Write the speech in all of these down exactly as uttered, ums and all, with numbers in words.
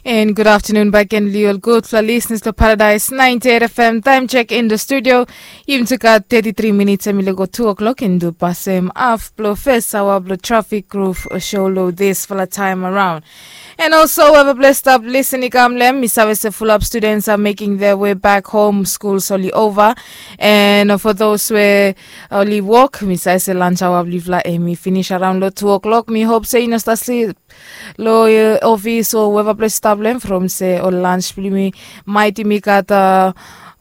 And good afternoon back again, liol gudfala listeners to Paradise ninety-eight F M. Time check in the studio. Yumi tu gat thirty-three minutes, em i lego two o'clock, and tu pasem af blo first hour blo traffic groove show lo this fala time around. And also, whoever blessed up listen i kam lem, mi save se full up students are making their way back home. Schools only over. And for those where only work, mi save se lunch hour blifla, em i finish around lo two o'clock. Mi hope se you know start sleep lo uh, office o weva ples stap lo hem from se ol lunch blong yumi maet yumi gat uh,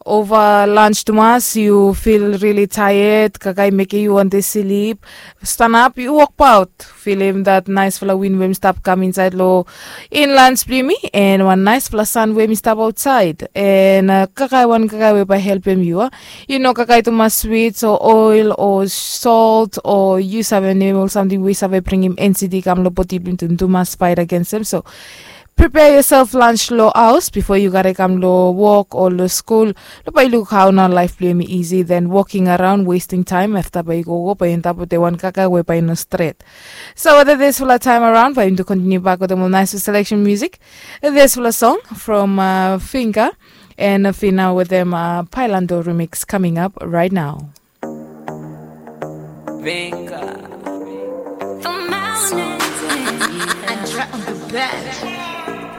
ova lunch tumas, yu fil rili taet, kaka i mekem yu wante slip. Stanap, yu wokbaot, filim dat naesfala win we mi stap kam insaed lo inlans blong yumi, en wan naesfala san we mi stap aotsaed, en uh, kakae wan kakae we bae helpem yu a. Yu no kakae tumas swits o oel o solt o yu save nem ol samting we i save bringim ensiti kam long bodi blong yu tu mas fait agensem. So prepare yourself lunch long haos bifo yu kare kam long wok o long skul. Long bae yu luk hao nao laef blong yumi isi, then walking around wasting time afta bae yu gogo bae yu antap wetem wan kaka we bae i no stret. So wetem disfala taem araon bae yumi tu kontiniu bak wetem ol naes selection music. Disfala song from uh, Finger and Fina wetem uh, Pailando remix coming up right now. Venga. The mountains. Andra on the bed.